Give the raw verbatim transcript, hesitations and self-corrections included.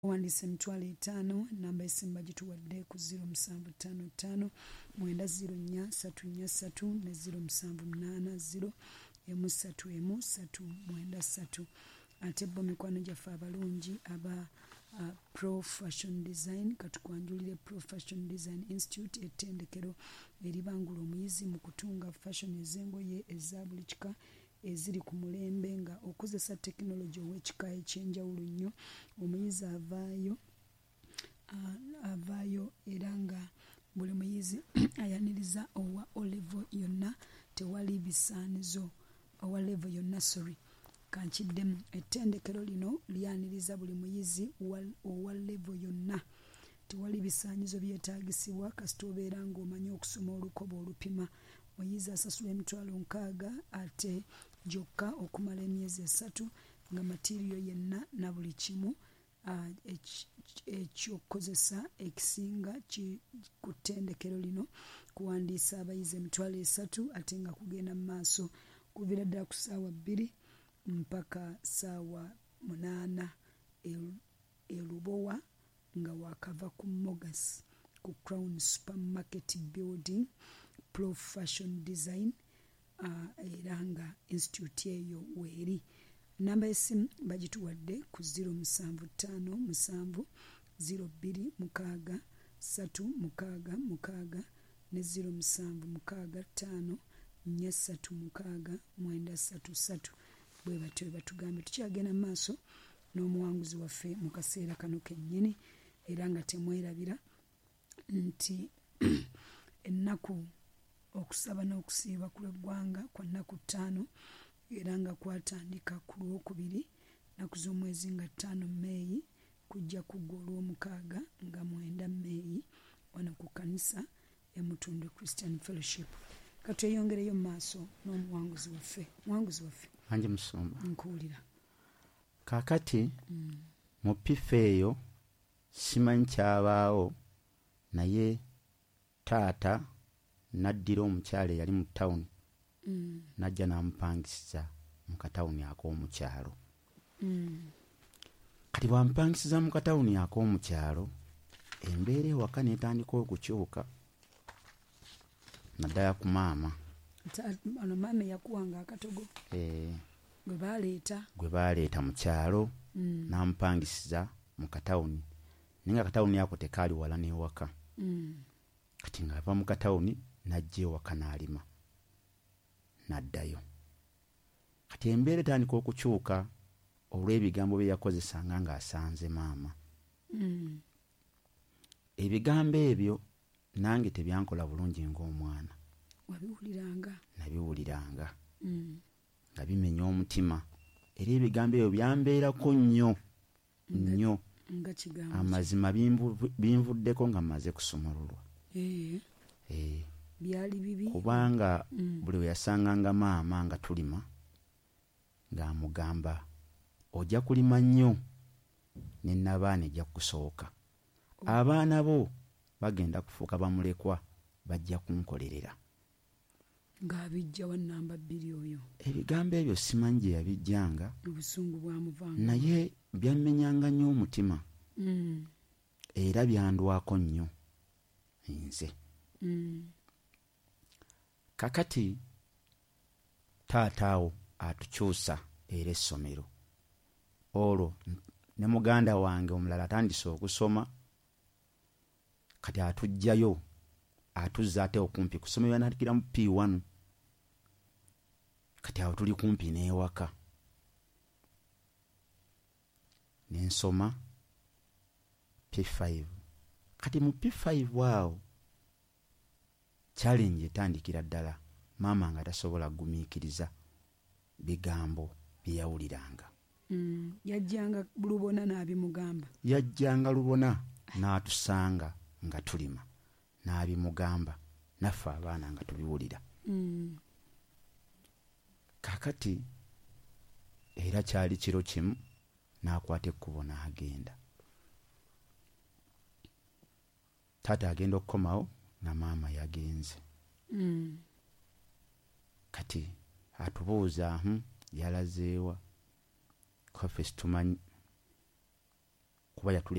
Owandiisa emitwalo etaano. Namba esimu bagituwadde ku zero musanvu ttaano ttaano mwenda zero nnya ssatu nnya ssatu ne zero musanvu munaana zero emu ssatu emu ssatu mwenda ssatu. Ate bo mikwano gyaffe abalungi aba uh, Pro Fashion Design, katukwanjulire Pro Fashion Design Institute, ettendekero eribangula omuyizi mu kutunga fashion ez'engoye eza buli kika eziri ku mulembe nga okozesa tekinologi ow'ekika ekyenjawulo nnyo. Omuyizi avaayo uh, avaayo era nga buli muyizi ayaniriza owa O level yonna, tewali bisaanizo owa level yonna, sorry, kankiddemu. Ettendekero lino lyaniriza buli muyizi owa level yonna, tewali bisaanyizo byetaagisibwa kasita obeera ng'omanyi okusoma olukoba olupima. Muyizi asasula emitwalo nkaaga ate gyokka okumala emyezi esatu nga material yenna na buli kimu ekyokukozesa ekisinga ku ttendekero lino. Kuwandiisa abayizi emitwalo esatu ate nga kugenda mu maaso kuviira ddala ku ssaawa bbiri mpaka ssaawa munaana e Lubowa nga wakava ku Mogas ku Crown Supermarket Building. Pro Fashion Design uh, era nga institute eyo weeri. Namba y'essimu bagituwadde ku zero musanvu ttaano musanvu zero bbiri mukaaga ssatu mukaaga mukaaga ne zero musanvu mukaaga ttaano nnya ssatu mukaaga mwenda ssatu ssatu. Bwe batyo bwe batugambye. Tukyagenda mu maaso n'omuwanguzi waffe mu kaseera kano kennyini, era nga temwerabira nti ennaku okusaba n'okusiiba ku lw'eggwanga kwa nnaku ttaano, era nga kwatandika ku lwokubiri nnaku z'omwezi nga ttaano Mmeeyi, kujja kuggwa olw'omukaaga nga mwenda Mmeeyi wano ku kkanisa ya Mutundwe Christian Fellowship. Katweyongereyo mu maaso n'omuwanguzi waffe. Muwanguzi waffe. Anji musumba. Nkuwulira. Kaakati mm. mu pifa eyo simanyi kyabaawo, naye taata n'addira omukyala eyali mu tawuni mm. n'ajja n'amupangisiza mu katawuni ak'omukyalo. mm. Kati bw'amupangisiza mu katawuni ak'omukyalo, embeera ewaka n'etandika okukyuka naddala ku maama. Ono maama eyakuwanga akatogo eh, gwe baleeta gwe baleeta mu kyalo mm. n'amupangisiza mu katawuni, naye nga akatawuni ako tekaali wala n'ewaka. mm. Kati ng'ava mu katawuni n'ajja ewaka n'alima n'addayo. Kati embeera etandika okukyuka olw'ebigambo bye yakozesanga ng'asanze maama. mm. Ebigambo ebyo nange tebyankola bulungi ng'omwana. Wabiwuliranga? Nabiwuliranga. mm. Nga bimenya omutima, era ebigambo ebyo byambeerako nnyo nnyo. Amazima binvuddeko nga mmaze kusumululwa. Eh. Eh. Byali bibi. Kubanga mm. buli we yasanganga maama nga tulima ng'amugamba ojja kulima nnyo ne nabaana ejja kukusooka. Oh. Abaana bo bagenda kufuuka bamulekwa, bajja kunkolerera. Ng'abijja wa namba bbiri oyo. Ebigambo ebyo simanyi gye yabijjanga. Obusungu bwamuvanga. Naye byammenyanga nnyo omutima. Mm. Era byandwako nnyo nze. Mm. Kakati taata awo atukyusa era essomero. Olwo ne muganda wange omulala atandise okusoma, kati atuggyayo atuzza ate okumpi ku ssomero yanandikira mu P one. Kati awo tuli kumpi n'ewaka. Ne nsoma P five. Kati mu P five awo challenge etandikira ddala, maama nga tasobola kugumiikiriza bigambo bye yawuliranga. Mm, yajjanga lubona n'abimugamba. Yajjanga lubona n'atusanga nga tulima n'abimugamba, naffe abaana nga tubiwulira. Mm. Kaakati era kyali kiro kimu n'akwata ekkubo n'agenda. Taata agenda okukomawo nga maama yagenze. Mm. Kati atubuuza hmm, yalazeewa? Kwaffe situmanyi. Kuba yatuleka.